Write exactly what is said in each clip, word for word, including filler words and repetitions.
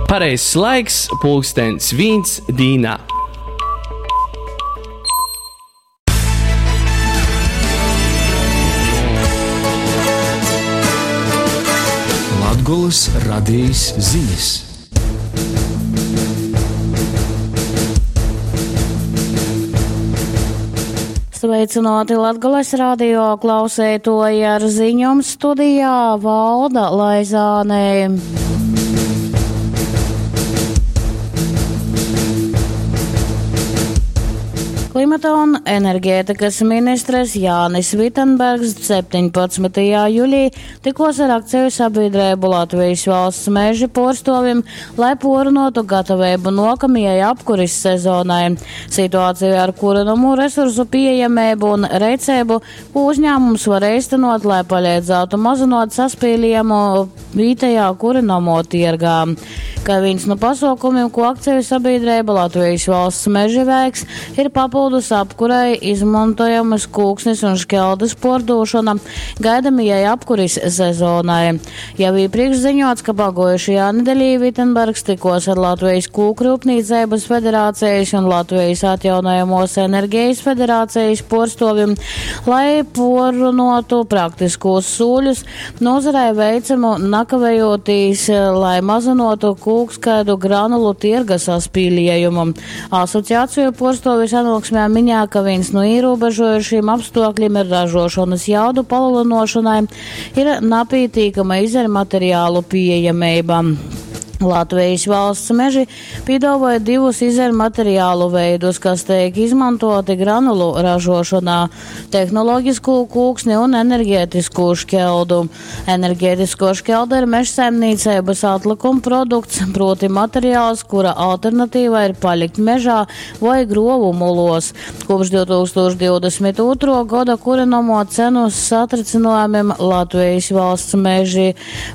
Pareizs laiks pulkstens vīns dīnā. Latgolys radejis zinis. Sveicināti Latgales radio klausētoji ar ziņom studijā Valda Laizānē. Klimata un enerģētikas ministres Jānis Vitenbergs septiņpadsmitajā jūlijā tikos ar akciju sabiedrību Latvijas valsts meži porstovim, lai porunotu gatavību nokamajai apkuris sezonai. Situāciju ar kurinomu resursu pieejamību un reicību, ko uzņēmums var īstenot, lai palīdzētu mazinot saspīlījumu vietējā kurinomo tirgā. Kā viens no pasaukumiem, ko akciju sabiedrība Latvijas valsts meži veiks, ir papildus apkurai izmantojamas kūksnes un šķeldas pordošana gaidamajai apkuris sezonai. Jau iepriekš ziņots, ka pagojušajā nedēļā Vitenbergs tikos ar Latvijas kūkrūpnīcības federācijas un Latvijas atjaunojamos enerģijas federācijas porstovim, lai porunotu praktiskos sūļus nozarei veicamu nakavējoties, lai mazinotu kūkskaidu granulu tirga saspīlējumu. Asociāciju porstovi sanāksmē minēja, ka viens no ierobežojušiem apstākļiem ir ražošanas jaudu palielināšanai ir napītīkama izējumateriālu pieejamība. Latvijas valsts meži piedāvāja divus izējumateriālu veidus, kas tiek izmantoti granulu ražošanā – tehnoloģisko kūksni un enerģētisko šķeldu. Enerģētisko šķeldu ir mežsaimniecības atlikuma produkts, proti materiāls, kura alternatīva ir palikt mežā vai grovu mulos. Kopš divi tūkstoši divdesmit otrā gada kurinomo cenu satricinājumiem Latvijas valsts meži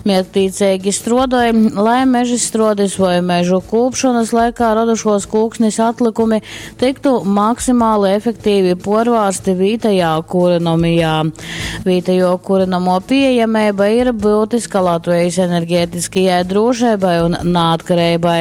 mērķtiecīgi strodoja, lai meži izstrādis vai mežu kūpšanas laikā radušos kūksnis atlikumi tiktu maksimāli efektīvi porvārsti vietējā kurinomijā. Vietējo kurinomo pieejamība ir būtiska Latvijas enerģētiskajai drošībai un neatkarībai.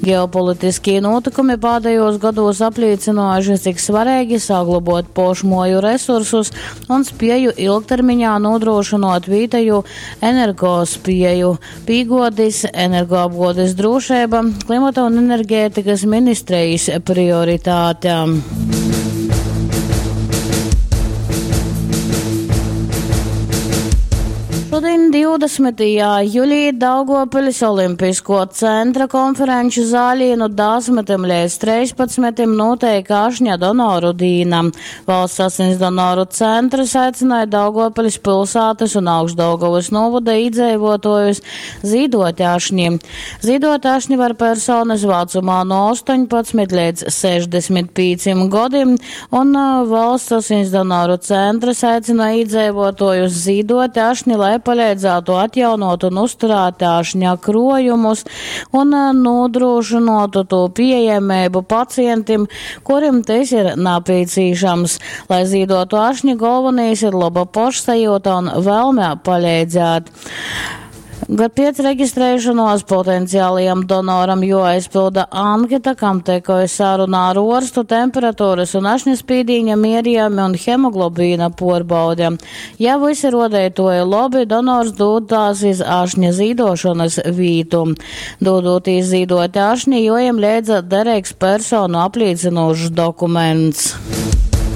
Ģeopolitiskie notikumi pēdējos gados apliecinājuši, cik svarīgi saglabot pošmoju resursus un spēju ilgtermiņā nodrošinot vietējo energospēju. Pīgodis, energoapgodes drošība, klimata un enerģētikas ministrijas prioritāte. Šodien divdesmitajā jūlijā Daugavpils Olimpisko centra konferenču zālī no desmitiem līdz trīspadsmitiem notiek ašņa donoru dīna. Valsts asins donoru centrs aicināja Daugavpils pilsētas un Augšdaugavas novada iedzīvotājus zīdot ašņi. Zīdot ašņi var personas vecumā no astoņpadsmit līdz sešdesmit pieciem gadiem, un valsts asins donoru centrs aicināja iedzīvotājus zīdot ašņi, lai palīdzētu atjaunot un uzturēt ašņa krojumus un nodrošinātu to pieejamību pacientiem, kuriem tas ir nepieciešams. Lai zīdotu ašņi, galvenais ir laba pašsajūta un vēlme palīdzēt. Gad pēc reģistrēšanos potenciālajam donoram jāaizpilda anketa, kam tekoja sarunā ar orstu, temperatūras un ašņaspīdīņa mierījumi un hemoglobīna porbaude. Ja visi rodētoji labi, donors dūdās iz ašņa zīdošanas vītu. Dūdotīs zīdot ašņi, jojam liedza derīgs personu apliecinošs dokuments.